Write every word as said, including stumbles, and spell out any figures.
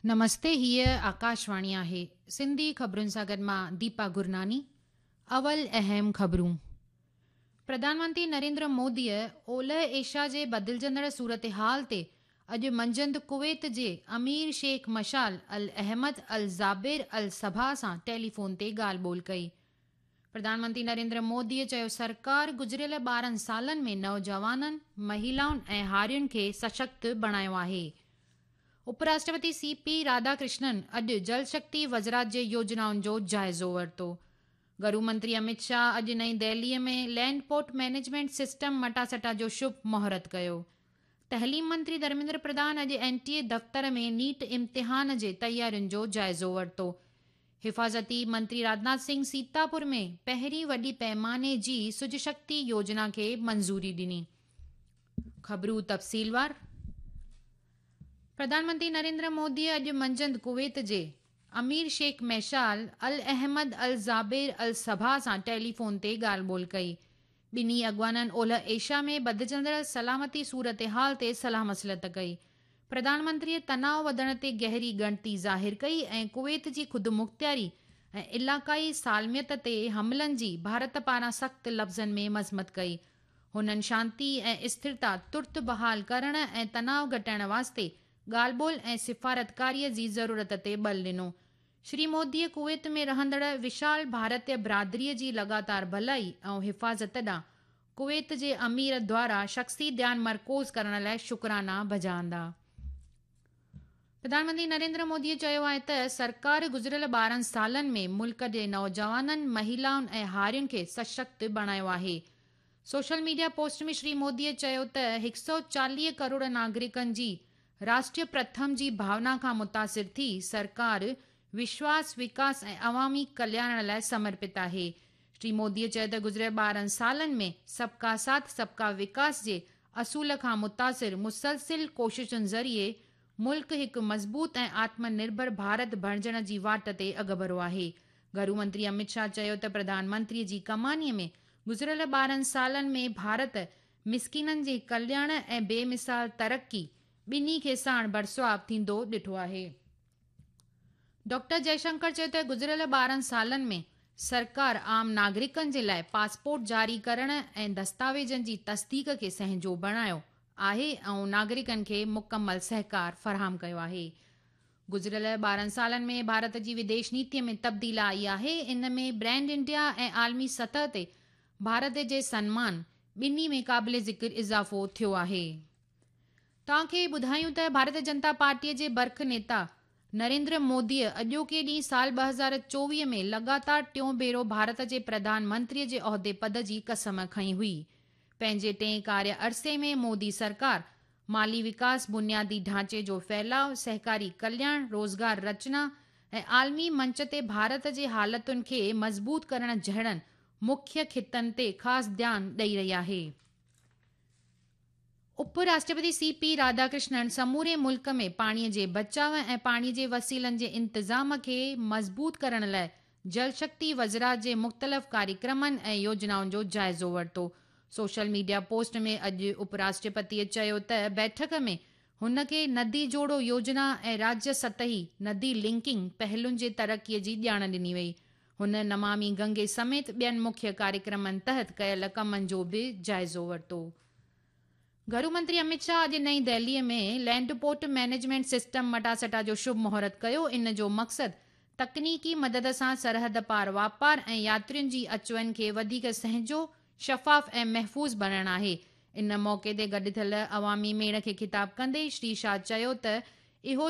نمستي، هيء آڪاشواڻي آهي. سنڌي خبرن سان گڏ مان ديپا گرناني. اول اهم خبرون. پرڌان منتري نريندر موديء اولهه ايشيا جي بدلجندڙ صورتحال تي اڄ منجهند ڪويت جي امير شيخ مشال ال احمد ال جابر ال صباح سان ٽيليفون تي ڳالهه ٻولهه ڪئي. پرڌان منتري نريندر موديء چيو سرڪار گذريل ٻارهن سالن ۾ نوجوانن، مهلائن ۽ هارين کي سشڪت بڻايو آهي. اپراشٽرپتي سي پي راڌاڪرشنن اڄ جل شڪتي وزارت جي يوجنائن جو جائزو ورتو. گهرو منتري امت شاهه اڄ نئين دهليء ۾ لينڊ پورٽ مئنيجمينٽ سسٽم مٽاسٽا جو شڀ مهورت ڪيو. تعليم منتري ڌرميندر پرڌان اڄ اين ٽي اي دفتر ۾ نيٽ امتحان جي تيارين جو جائزو ورتو. حفاظتي منتري راجناٿ سنگهه سيتاپور ۾ پهرين وڏي پيماني جي سج شڪتي يوجنا کي منظوري ڏني. خبرون تفصيلوار. پرڌان منتري نريندر موديء اڄ منجهند ڪويت جي امير شيخ مشال ال احمد ال جابر ال صباح سان ٽيليفون تي ڳالهه ٻولهه ڪئي. ٻنهي اڳواڻن اولهه ايشيا ۾ بدلجندڙ سلامتي صورتحال تي صلاح مصلحت ڪئي. پرڌان منتريء تناءُ وڌڻ تي گهري ڳڻتي ظاهر ڪئي ۽ ڪويت جي خودمختياري ۽ علائقائي سالميت تي حملن جي ڀارت پاران سخت لفظن ۾ مذمت ڪئي. هنن شانتي ۽ اسٿرتا ترت بحال ڪرڻ ۽ تناءُ گهٽائڻ واسطي ڳالهه ٻولهه ۽ سفارتڪاريءَ جي ضرورت تي ٻل ڏنو. شري موديء ڪويت ۾ رهندڙ وشال ڀارتيه برادريءَ جي لڳاتار ڀلائي ۽ حفاظت ڏانهن ڪويت جي امير دوارا شخصي ڌيان مرڪوز ڪرڻ لاءِ شڪرانا بجا آندا. پرڌان منتري نريندر موديء چيو آهي ته سرڪار گذريل ٻارهن سالن ۾ ملڪ جي نوجوانن، مهلائن ۽ هارين کي سشڪت بڻايو آهي. سوشل ميڊيا پوسٽ ۾ شري موديء چيو ته هڪ سؤ چاليهه ڪروڙ ناگرڪن جي راشٽريه پرٿم جي ڀاونا کان متاثر ٿي سرڪار وشواس، وڪاس ۽ عوامي ڪلياڻ لاءِ سمرپت آهي. شري موديء چيو ته گذريل ٻارهن سالن ۾ سبڪا ساٿ سبڪا وڪاس جي اصول کان متاثر مسلسل ڪوششن ذريعي ملڪ هڪ مضبوط ۽ آتم نرڀر ڀارت بڻجڻ جي واٽ تي اڳڀرو آهي. گهرو منتري امت شاهه چيو ته پرڌان منتريءَ جي ڪمانيءَ ۾ گذريل ٻارهن سالن ۾ ڀارت مسڪينن جي ڪلياڻ ۽ بيمثال ترقي ٻنهي کي ساڻ برسواب ٿيندو ڏٺو آهي. ڊاڪٽر جئشنڪر چيو ته گذريل ٻارهن سالن ۾ سرڪار عام ناگرڪن جي لاءِ پاسپورٽ جاري ڪرڻ ۽ دستاويزن جي تصديق کي سهنجو بڻايو آهي ۽ ناگرڪن کي مڪمل سهڪار فراهم ڪيو آهي. گذريل ٻارهن سالن ۾ ڀارت جي وديش نيتيءَ ۾ تبديلي آئي آهي. ان ۾ برانڊ انڊيا ۽ عالمي سطح تي ڀارت جي سنمان ٻنهي ۾ قابل ذڪر اضافو ٿيو آهي. توهان کي ٻڌايون ته ڀارتيه جنتا پارٽيءَ جي برک نيتا نريندر موديءَ اڄوڪي ڏينهن سال ٻه هزار چوويهه ۾ لڳاتار ٽيون ڀيرو ڀارت جي پرڌان منتريءَ جي عهدي پد جي قسم کنئي هئي. پنهنجي ٽئين ڪاريه عرصي ۾ مودي سرڪار مالي وڪاس، بنيادي ڍانچي جو ڦهلاءُ، سهڪاري ڪلياڻ، روزگار رچنا ۽ عالمي منچ تي ڀارت جي حالتن کي مضبوط ڪرڻ جهڙن مکيه خطن تي خاص ڌيان ڏيئي رهي آهي. اپراشٽرپتي سي پي راڌاڪرشنن سموري ملڪ ۾ پاڻيءَ جي بچاءُ ۽ پاڻيءَ جي وسيلن جي انتظام کي مضبوط ڪرڻ لاءِ جل شڪتي وزارت جي مختلف ڪاريڪرمن ۽ يوجنائن جو جائزو ورتو. سوشل ميڊيا پوسٽ ۾ اڄ اپراشٽرپتيءَ چيو ته بيٺڪ ۾ هن کي ندي جوڙو يوجنا ۽ راجيه سطحي ندي لنڪنگ پهلن جي ترقيءَ جي ڄاڻ ڏني وئي. هن نمامي گنگي سميت ٻين مکيه ڪاريڪرمن تحت ڪيل ڪمن جو به جائزو ورتو. گهرو منتري امت شاهه اڄ نئين دهليءَ ۾ لينڊ پورٽ مئنيجمينٽ سسٽم مٽاسٽا جو شڀ مهورت ڪيو. ان جو مقصد تڪنيڪي مدد سان سرحد پار واپار ۽ ياترين جي اچ وڃ کي وڌيڪ سهنجو، شفاف ۽ محفوظ بڻائڻ آهي. ان موقعي تي گڏ ٿيل عوامي ميڙ کي خطاب ڪندي شري شاهه چيو ته اهو